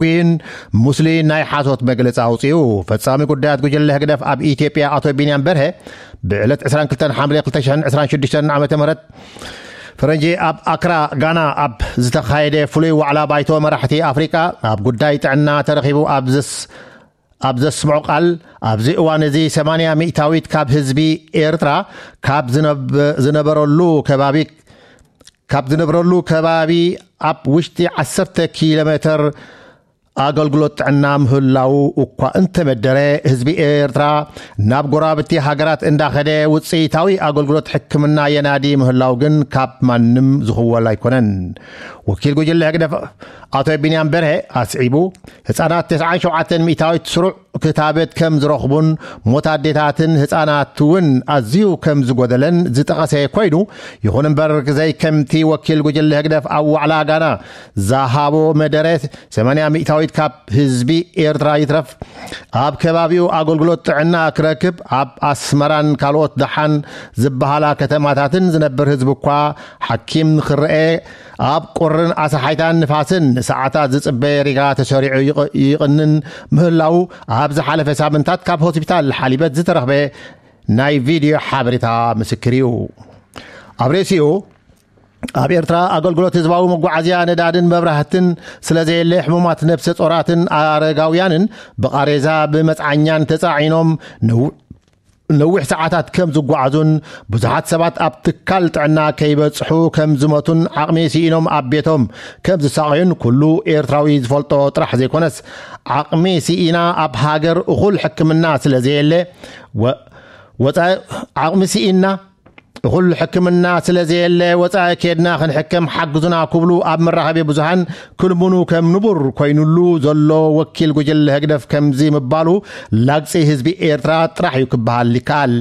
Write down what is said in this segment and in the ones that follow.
ን ሙስሊም ናይ ሓሶት መግለጺ ኣውጺኡ። ፈጻሚ ጉዳያት ጉጅለ ህግደፍ ኣብ ኢትዮጵያ ኣቶ ቢንያም በርሀ ብዕለት ዕስራን ክልተን ሓምለ ክልተ ሽሕን ዕስራን ሽዱሽተን ዓመተ ምህረት ፈረንጂ ኣብ ኣክራ ጋና ኣብ ዝተኻየደ ፍሉይ ዋዕላ ባይቶ መራሕቲ ኣፍሪቃ ኣብ ጉዳይ ጥዕና ተረኺቡ ኣብ ዘስ ኣብ ዘስምዖ ቃል፣ ኣብዚ እዋን እዚ ሰማንያ ሚእታዊት ካብ ህዝቢ ኤርትራ ካብ ዝነብ- ዝነበረሉ ከባቢ ካብ ዝነብረሉ ከባቢ ኣብ ውሽጢ ዓሰርተ ኪሎ ሜትር ኣገልግሎት ጥዕና ምህላው እኳ እንተመደረ፣ ህዝቢ ኤርትራ ናብ ጎረባብቲ ሃገራት እንዳኸደ ውፅኢታዊ ኣገልግሎት ሕክምና የናዲ ምህላው ግን ካብ ማንም ዝኽወል ኣይኮነን። ወኪል ጉጅለ ህግደፍ ኣቶ ቢንያም በርሀ ኣስዒቡ፣ ህፃናት ተስዓን ሸውዓተን ሚእታዊት ስሩዕ ክታበት ከም ዝረኽቡን ሞት ኣዴታትን ህፃናት እውን ኣዝዩ ከም ዝጎደለን ዝጠቐሰ ኮይኑ፣ ይኹን እምበር ዘይከምቲ ወኪል ጉጅለ ህግደፍ ኣብ ዋዕላ ጋና ዝሃቦ መደረ ሰማንያ ሚእታዊት ካብ ህዝቢ ኤርትራ ይትረፍ ኣብ ከባቢኡ ኣገልግሎት ጥዕና ክረክብ ኣብ ኣስመራን ካልኦት ደሓን ዝበሃላ ከተማታትን ዝነብር ህዝቢ እኳ ሓኪም ንክረአ ኣብ ቁርን ኣሳሓይታን ንፋስን ንሰዓታት ዝጽበየ ሪጋ ተሰሪዑ ይቕ- ይቕንን ምህላው ኣብ ዝሓለፈ ሳምንታት ካብ ሆስፒታል ሓሊበት ዝተረኽበ ናይ ቪድዮ ሓበሬታ ምስክር እዩ። ኣብ ርእሲኡ ኣብ ኤርትራ ኣገልግሎት ህዝባዊ መጓዓዝያ ነዳድን መብራህትን ስለ ዘየለ ሕሙማት ነብሰ ጾራትን ኣረጋውያንን ብቓሬዛ ብመጽዓኛን ተጻዒኖም ነው- ነዊሕ ሰዓታት ከም ዝጓዓዙን ብዙሓት ሰባት ኣብ ትካል ጥዕና ከይበጽሑ ከም ዝሞቱን ዓቕሚ ስኢኖም ኣብ ቤቶም ከም ዝሳቐዩን ኩሉ ኤርትራዊ ዝፈልጦ ጥራሕ ዘይኮነስ ዓቕሚ ስኢና ኣብ ሃገር እኹል ሕክምና ስለ ዘየለ ወ- ወፃኢ ዓቕሚ ስኢና እኹል ሕክምና ስለ ዘየለ ወፃኢ ኬድና ክንሕከም ሓግዙና ክብሉ ኣብ መራኸቢ ብዙሃን ክልምኑ ከም ንቡር ኮይኑሉ ዘሎ ወኪል ጉጅለ ህግደፍ ከምዚ ምባሉ ላግፂ ህዝቢ ኤርትራ ጥራሕ እዩ ክበሃል ይከኣል።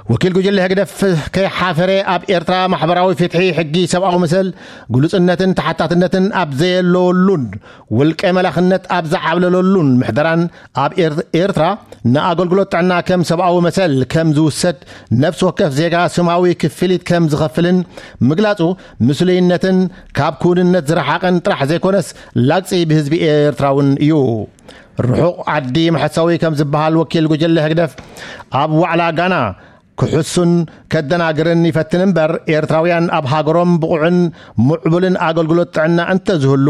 ወኪል ጉጅለ ህግደፍ ከይሓፈረ ኣብ ኤርትራ ማሕበራዊ ፍትሒ፣ ሕጊ፣ ሰብኣዊ መሰል፣ ግሉጽነትን ተሓታትነትን ኣብ ዘየለወሉን ውልቀ መላኽነት ኣብ ዝዓብለለሉን ምሕደራን ኣብ ኤር- ኤርትራ ንኣገልግሎት ጥዕና ከም ሰብኣዊ መሰል ከም ዝውሰድ፣ ነፍሲ ወከፍ ዜጋ ስማዊ ክፍሊት ከም ዝኸፍልን ምግላጹ ምስሉይነትን ካብ ክውንነት ዝረሓቐን ጥራሕ ዘይኮነስ ላግጺ ብህዝቢ ኤርትራ እውን እዩ። ርሑቕ ዓዲ መሐሰዊ ከም ዝበሃል ወኪል ጉጅለ ህግደፍ ኣብ ዋዕላ ጋና ክሕሱን ከደናግርን ይፈትን እምበር፣ ኤርትራውያን ኣብ ሃገሮም ብቑዕን ምዕቡልን ኣገልግሎት ጥዕና እንተዝህሉ፣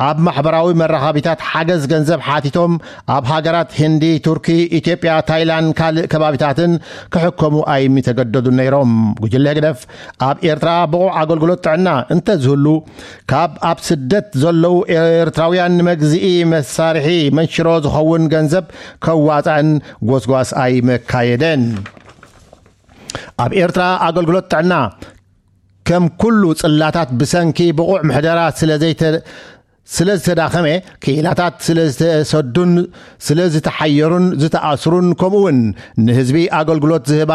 ኣብ ማሕበራዊ መራኸቢታት ሓገዝ ገንዘብ ሓቲቶም ኣብ ሃገራት ህንዲ፣ ቱርኪ፣ ኢትዮጵያ፣ ታይላንድ፣ ካልእ ከባቢታትን ክሕከሙ ኣይምተገደዱን ነይሮም። ጉጅለ ህግደፍ ኣብ ኤርትራ ብቑዕ ኣገልግሎት ጥዕና እንተዝህሉ፣ ካብ ኣብ ስደት ዘለዉ ኤርትራውያን ንመግዝኢ መሳርሒ መንሽሮ ዝኸውን ገንዘብ ከዋጻእን ጎስጓስ ኣይመካየደን። ኣብ ኤርትራ ኣገልግሎት ጥዕና ከም ኩሉ ጽላታት ብሰንኪ ብቑዕ ምሕደራ ስለ ዘይተ- ስለ ዝተዳኸመ፣ ክኢላታት ስለ ዝተሰዱን ስለ ዝተሓየሩን ዝተኣስሩን፣ ከምኡ እውን ንህዝቢ ኣገልግሎት ዝህባ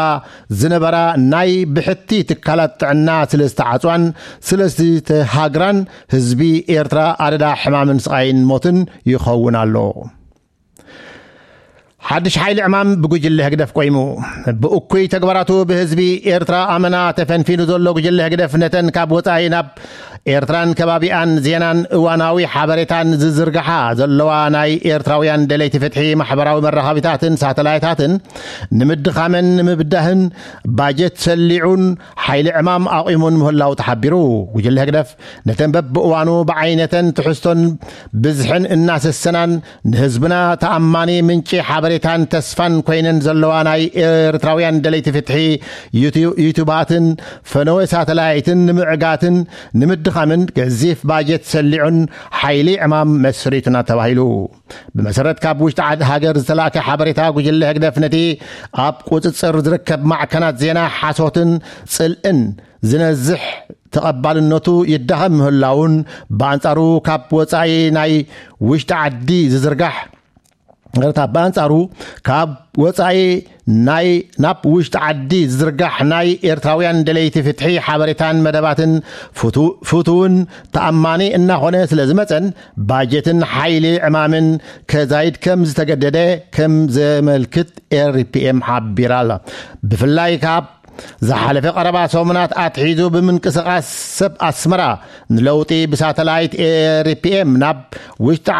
ዝነበራ ናይ ብሕቲ ትካላት ጥዕና ስለ ዝተዓጽዋን ስለ ዝተሃግራን፣ ህዝቢ ኤርትራ ኣደዳ ሕማምን ስቓይን ሞትን ይኸውን ኣሎ። ሓድሽ ሓይሊ ዕማም ብጉጅለ ህግደፍ ቆይሙ። ብእኩይ ተግባራቱ ብህዝቢ ኤርትራ ኣመና ተፈንፊኑ ዘሎ ጉጅለ ህግደፍ፣ ነተን ካብ ወጻኢ ናብ ኤርትራን ከባቢኣን ዜናን እዋናዊ ሓበሬታን ዝዝርግሓ ዘለዋ ናይ ኤርትራውያን ደለይቲ ፍትሒ ማሕበራዊ መራኸቢታትን ሳተላይታትን ንምድኻመን ንምብዳህን ባጀት ሰሊዑን ሓይሊ ዕማም ኣቑሙን ምህላው ተሓቢሩ። ጉጅለ ህግደፍ ነተን በብእዋኑ ብዓይነተን ትሕዝቶን ብዝሕን እናሰሰናን ንህዝብና ተኣማኒ ምንጪ ሓበሬታን ተስፋን ኮይነን ዘለዋ ናይ ኤርትራውያን ደለይቲ ፍትሒ ዩቱ- ዩቱባትን ፈነወ ሳተላይትን ንምዕጋትን ንምድኻምን ገዚፍ ባጀት ሰሊዑን ሓይሊ ዕማም መስሪቱና ተባሂሉ። ብመሰረት ካብ ውሽጢ ዓዲ ሃገር ዝተላእከ ሓበሬታ፣ ጉጅለ ህግደፍ ነቲ ኣብ ቁጽጽር ዝርከብ ማዕከናት ዜና ሓሶትን ጽልእን ዝነዝሕ ተቐባልነቱ ይዳኸም ምህላውን፣ ብኣንጻሩ ካብ ወጻኢ ናይ ውሽጢ ዓዲ ዝዝርጋሕ፣ ይቕርታ፣ ብኣንጻሩ ካብ ወጻኢ ናይ ናብ ውሽጢ ዓዲ ዝዝርጋሕ ናይ ኤርትራውያን ደለይቲ ፍትሒ ሓበሬታን መደባትን ፍቱ- ፍቱውን ተኣማኒ እናኾነ ስለ ዝመጸን፣ ባጀትን ሓይሊ ዕማምን ከዛይድ ከም ዝተገደደ ከም ዘመልክት ኤር ፒ ኤም ሓቢራ ኣላ። ብፍላይ ካብ ዝሓለፈ ቀረባ ሰሙናት ኣትሒዙ ብምንቅስቓስ ሰብ ኣስመራ ንለውጢ ብሳተላይት ኤሪፒኤም ናብ ውሽጢ